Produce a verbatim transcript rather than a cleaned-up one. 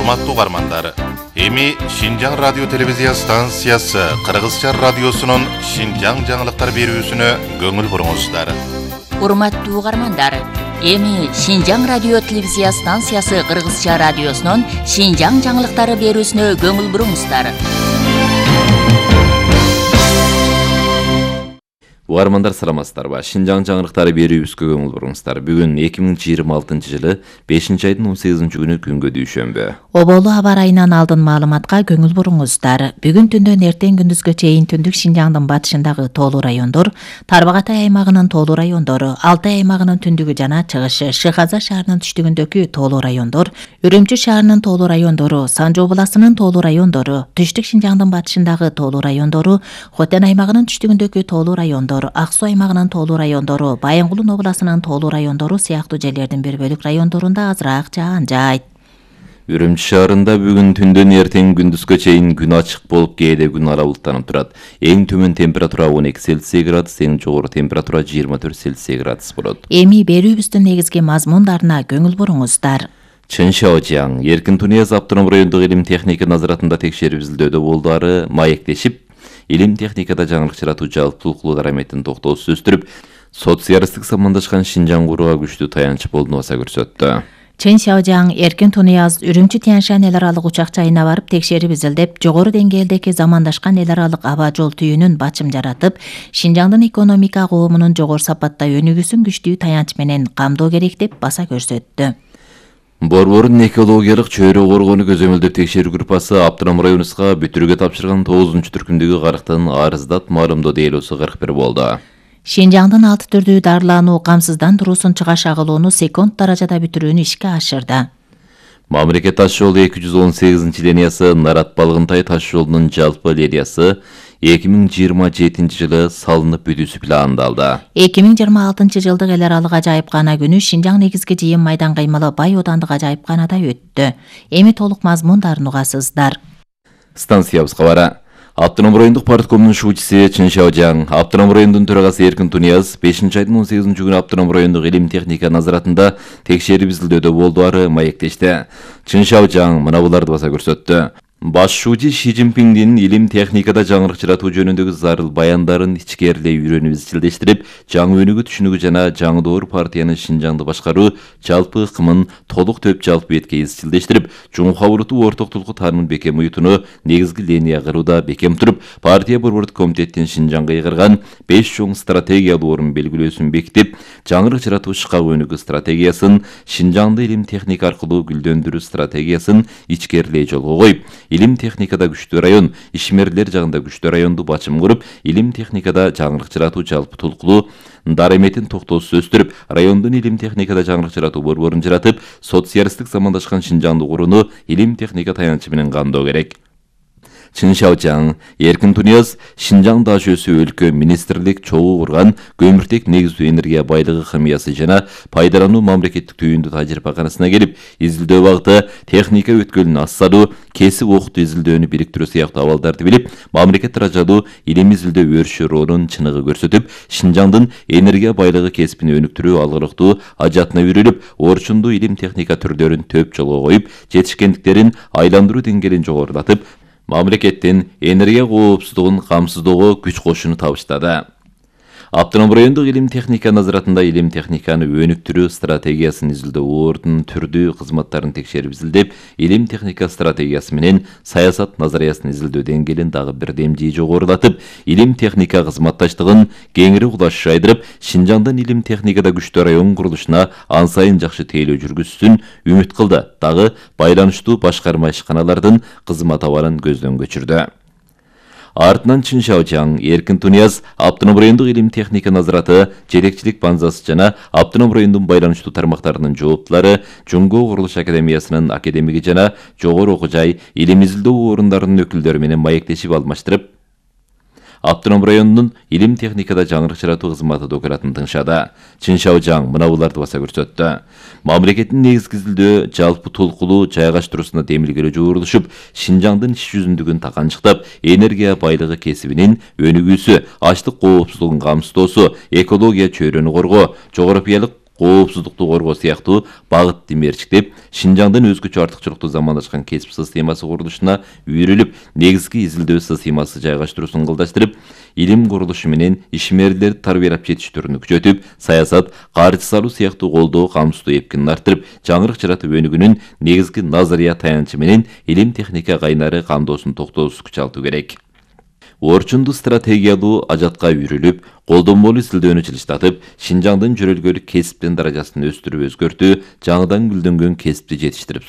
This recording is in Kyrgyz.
Урматтуу угармандар, эми Шинжаң радио телевизия станциясы Кыргызча радиосунун Шинжаң жаңылыктар берүүсүнө көңүл буруңуздар. Урматтуу угармандар, эми Шинжаң радио телевизия станциясы Кыргызча радиосунун Шинжаң жаңылыктары берүүсүнө көңүл буруңуздар. Угармандар саламатсыздарбы? Шинжаң жаңылыктары берүүбүзгө көңүл буруңуздар. Бүгүн эки миң жыйырма алтынчы жылы бешинчи айдын он сегизинчи күнү күнгө дүйшөмбү. Оболу аба ырайынан алдын маалыматка көңүл буруңуздар. Бүгүн түндөн эртең күндүзгө чейин түндүк Шинжаңдын батышындагы тоолуу райондор, Тарбагатай аймагынын тоолуу райондору, Алтай аймагынын түндүгү жана чыгышы, Шыгаза шаарынын түштүгүндөгү тоолуу райондор, Үрүмчү шаарынын тоолуу райондору, Санжы областынын тоолуу райондору, Түштүк Шинжаңдын батышындагы тоолуу райондору, Хотен аймагынын түштүгүндөгү тоолуу райондор, Аксу аймагынын тоолуу райондору, Байынгулун областынын тоолуу райондору сыяктуу жерлердин бир бөлүк райондорунда азыраак жаан жайт. Үрүмчү шаарында бүгүн түндөн эртең күндүзгө чейин күн ачык болуп, кээде күн ала булттанып турат. Эң төмөн температура он эки Цельсий градус, эң жогору температура жыйырма төрт Цельсий градус болот. Эми берүүбүздүн негизги мазмундарына көңүл буруңуздар. Чын Шаожаң, Эркин Тунияз автоном райондук илим техника назаратында текшерип изилдөөдө болдары маектешип, илим техникада жаңылык жаратуу жалпы толкулуу дараметин токтоосуз өстүрүп, социалисттик самандашкан Шинжаң курууга күчтүү таянч болду баса көрсөттү. Чын Шаожаң, Эркин Тунияз Үрүмчү Тянь-Шань эл аралык учак жайына барып текшерип изилдеп, жогору деңгээлдеги замандашкан эл аралык аба жол түйүнүн бачым жаратып, Шинжаңдын экономика коомунун жогору сапатта өнүгүүсүн күчтүү таянч менен камдоо керек деп баса көрсөттү. Борбордун экологиялык чөйрө коргоону көзөмөлдөп текшерүү группасы автоном районубузга бүтүрүүгө тапшырган тогузунчу түркүмдөгү карыктын арыздат маалымдоо делосу кырк бир болду. Шинжаңдын алты түрдүү дарылануу камсыздандыруусун чыгаш агылууну секунд даражада бүтүрүүнү ишке ашырды. Мамлекет таш жолу эки жүз он сегизинчи линиясы Нарат Балгынтай таш жолунун жалпы линиясы эки миң жыйырма жетинчи жылы салынып бүтүүсү пландалды. эки миң жыйырма алтынчы жылдык эл аралык ажайыпкана күнү Шинжаң негизги жыйын майдан кыймылы Бай оодандык ажайыпканада өттү. Эми толук мазмундарын угасыздар. Станциябызга бара. Автоном райондук парткомунун шуучусу Чын Шаожаң, автоном райондун төрагасы Эркин Тунияз бешинчи айдын он сегизинчи күнү автоном райондук илим техника назаратында текшерип изилдөөдө болдуары маектешти. Чын Шаожаң мына буларды баса көрсөттү. Башчуучу Ши Цзиньпиндин илим техникада жаңылык жаратуу жөнүндөгү зарыл баяндарын ичкерилей үйрөнүп изчилдештирип, жаңы өнүгүү түшүнүгү жана жаңдоор партиянын Шинжаңды башкаруу жалпы ыкмын толук төп жалпы бетке изчилдештирип, жумука урутуу орток толку таанымын бекем уютууну негизги линия кырууда бекем туруп, партия борбордук комитеттин Шинжаңга ыйгарган беш чоң стратегиялуу орун белгилөөсүн бекитип, жаңылык жаратуу шкак өнүгүү стратегиясын, Шинжаңды илим техника аркылуу гүлдөндүрүү стратегиясын ичкерилей жолго коюп, илим техникада күчтүү район, ишмерлер жагында күчтүү районду бачым куруп, илим техникада жаңылык жаратуу жалпы толкулуу дараметин токтоосуз өстүрүп, райондун илим техникада жаңылык жаратуу борборун жаратып, социалисттик замандашкан Шинжаңды курууну илим техника таянычы менен камдоо керек. Чын Шаожаң, Эркин Тунияз Шинжаң даш өсүү өлкө министрлик чогуу курган көмүртек негиздүү энергия байлыгы химиясы жана пайдалануу мамлекеттик түйүндү тажрыйбаканасына келип, изилдөө багыты техника өткөлүн ассадуу, кесип окутуу изилдөөнү бириктирүү сыяктуу абалдарды билип, мамлекет даражалуу илим изилдөө өршү роолун чыныгы көрсөтүп, Шинжаңдын энергия байлыгы кесибин өнүктүрүү алгылыктуу ажатына үйрөлүп, орчундуу илим техника түрлөрүн төп жолго коюп, жетишкендиктерин айландыруу деңгээлин жогорулатып, мамлекеттин энергия коопсуздугун камсыздоого күч кошууну табыштады. Автоном райондук илим техника назаратында илим техниканы өнүктүрүү стратегиясын изилдөө ордун түрдүү кызматтарын текшерип изилдеп, илим техника стратегиясы менен саясат назариясын изилдөө деңгээлин дагы бир демжи жогорулатып, илим техника кызматташтыгын кеңири кулаш жайдырып, Шинжаңдын илим техникада күчтүү район курулушуна ан сайын жакшы тейлөө жүргүзүүсүн үмүт кылды. Дагы байланыштуу башкарма ишканалардын кызмат абалын көздөн көчүрдү. Артынан Чын Шаожаң, Эркин Тунияз автоном райондук илим техника назараты, жетекчилик банзасы жана автоном райондун байланыштуу тармактарынын жооптулары, Жумго курулуш академиясынын академиги жана жогору окуу жай, илим изилдөө орундарынын өкүлдөрү менен маектешип алмаштырып, автоном районунун илим техникада жаңылык жаратуу кызматы документин тыңшады. Чын Шаожаң мына буларды баса көрсөттү. Мамлекеттин негизги изилдөө жалпы толкулуу жайгаштыруусуна демилгелөө жуурулушуп, Шинжаңдын иш жүзүндүгүн таканчыктап, энергия байлыгы кесибинин өнүгүүсү, ачлык коопсуздугун камсыздоосу, экология чөйрөнү коргоо, жогорапиялык коопсуздукту коргоо сыяктуу багытты мерчиктеп, Шинжаңдын өзгөчө артыкчылыктуу замандашкан кесип системасы курулушуна үйрүлүп, негизги изилдөө системасы жайгаштыруусун ылдыштырып, илим курулушу менен ишмерлерди тарбиялап жетиштирүүнү күчөтүп, саясат, каржы салуу сыяктуу колдоо камсыздуу эпкинин арттырып, жаңырык жаратып өнүгүүнүн негизги назария таянычы менен илим техника кайнары камдоосун токтоосуз күч алуу керек. Орчунду стратегиялуу ажатка үйрүлүп, колдонмолуу изилдөөнү жылыштатып, Шинжаңдын жөрөлгөлүк кесиптин даражасын өстүрүп өзгөртүү, жаңыдан гүлдөнгөн кесипти жетиштирип сурап